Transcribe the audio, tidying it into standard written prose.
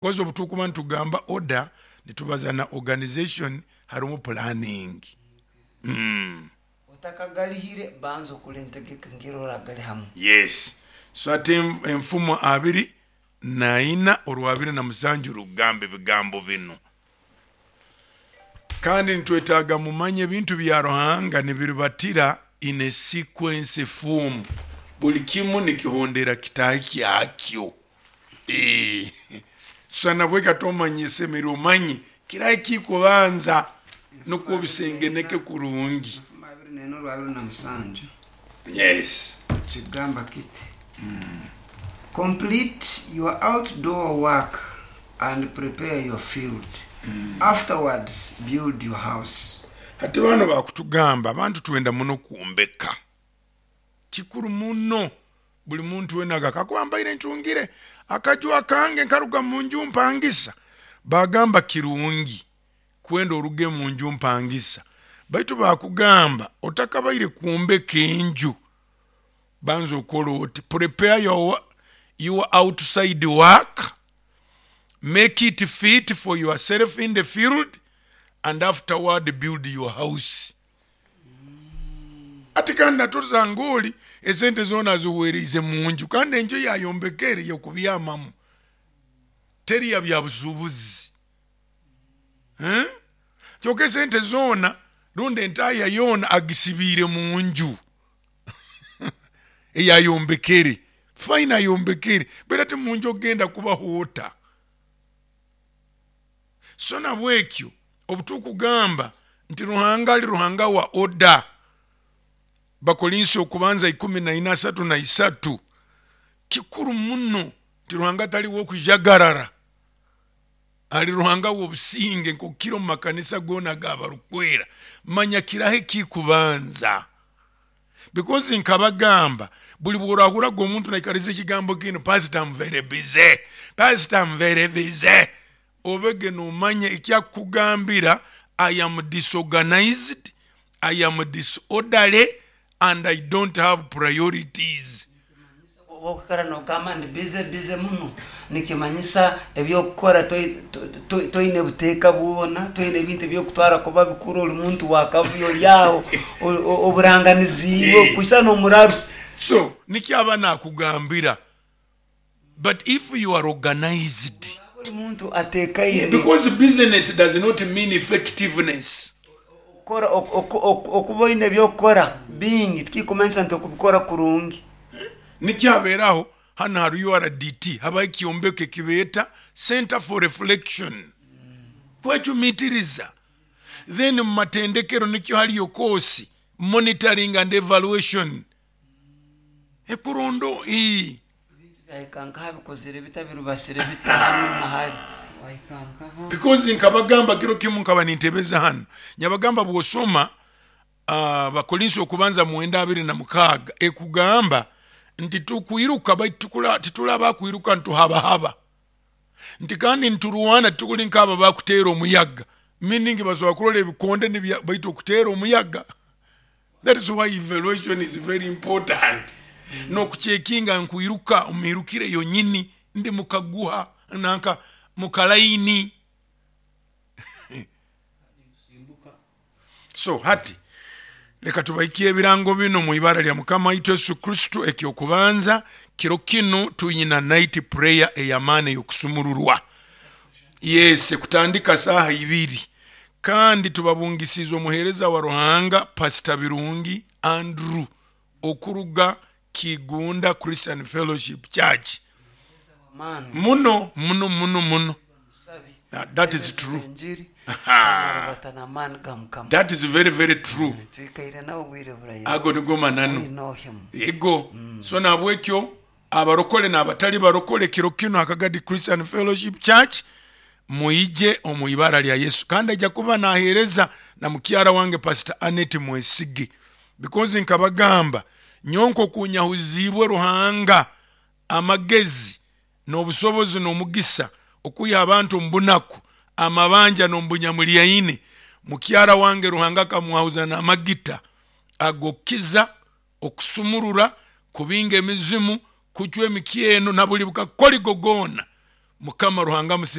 Because obu tukuba nitugamba order, nitubaza na organization, harimu planning. Otakagalihire, banza okole entegeka engeri oragalihamu. Yes. So hati Enfumo 24 orwa 27 rukugamba ebigambo binu. Kandi nitwetaaga mumanye ebintu bya Ruhanga nibiribatira in a sequence form. Buli kimu nikihondera kitaahi kyakyo. Susana bweka tomanya esemere omanye kirahi kikubanza nukwo obisengeneke kurungi. Enfumo 24 orwa 27. Yes. Kigamba kiti, "Complete your outdoor work and prepare your field. Afterwards build your house." Hati bano bakutugamba abantu twenda muno kwombeka. Kikuru muno buli muntu wena aga kakuba mbaire ntungire akaju akange nkaruga mu nju mpangisa. Bagamba kirungi kwenda oruge mu nju mpangisa, baitu bakugamba otakabaire kwombeka enju banza okole oti, prepare your outside work, make it fit for yourself in the field, and afterward build your house. Ati kandi natusanga oli esente zoona aziwereize mu nju, kandi enju eyayombekere y'okubyamamu, teri ya byabusuubuzi. Kyonka esente zoona rundi entaya yoona agisibiire mu nju eyayombekere. Fine ayombekere, baitu ati mu nju ogenda kubaho ota? So nabwekyo obu tukugamba nti Ruhanga ali Ruhanga wa oda, Bakorinso okubanza ikumi na ina asatu na isatu, kikuru muno nti Ruhanga tali w'okujagarara, ali Ruhanga w'obusinge nk'oku kiri omu makanisa goona ag'abarukwera. Manya kiraha ekikubanza. Because nkabagamba buli bw'orahuraga omuntu naikaliza ekigambo kinu, Pastor I'm very busy, Pastor I'm very busy, obege nomanya ekyakukugambira, I am disorganized, I am disorderly and I don't have priorities. Obu okwikara nogamba ndi busy busy muno, nikimanyisa eby'okukora toine buteeka bwona, toine ebintu eby'okutwara kuba bikuru, ori muntu wa kavuyo ori aho oburanganiziibwe kushushana n'omuraru. So nikyo aba nakugambira, but if you are organized. Oraba ori muntu ateekaine. Because busyness does not mean effectiveness. Okuba oine eby'okukora bingi tikikumanyisa nti okubikora kurungi. Nikyo habeeraho hanu ha URDT habaho ekyombeko ekibeeta Centre for Reflection, kwecumitiriza. Then mu matendekero nikyo hariyo koosi Monitoring and Evaluation ekurondo. Ebintu byahika nkaha bikozire bita birubasire bita hanu na hari wahika nkaha. Because nkabagamba kiro kimu nkaba nintebeza hanu, nyabagamba bwosoma Abakorinso okubanza mwenda 26 ekugamba nti tukwiruka baitu tituli abakwiruka nituhabahaba, nti kandi niturwana titukuli nk'abo abakuteera omuyaga, meaning basobora kurora ebikonde baitu okuteera omuyaga. That is why evaluation is very important. N'okucekinga nkwiruka omu miirukire yonyini, ndi mukaguha nanka mukalaini. So hati leka tubahikye ebirango binu omu ibara lya Mukama waitu Yesu Kristo. Eky'okubanza, kiro kinu tuyina night prayer ey'amaani ey'okusumururwa. Yes, kutandika saaha ibiri. Kandi tubabungisiize omuheereza wa Ruhanga Pastor Birungi Andrew okuruga Kigunda Christian Fellowship Church. Muno muno muno muno. That is true. That is very very true. Ago nigo mananu. Ego. So nahabwekyo abarokole n'abatali barokole kiro kinu ha Kagadi Christian Fellowship Church mwije omu ibara lya Yesu. Kandi aija kuba naheereza na mukyara wange Pastor Annette Mwesige. Because nkabagamba nyowe nkoku nyahuziibwe Ruhanga amagezi n'obusobozi n'omugisa okwiha abantu omu bunaku, amabanja n'omu bunyamulyaine. Mukyara wange Ruhanga akamwahuza n'amagita ag'okukiza, okusumurura, kubinga emizimu, kucwa emikyeno na buli bukakoligo goona. Mukama Ruhanga.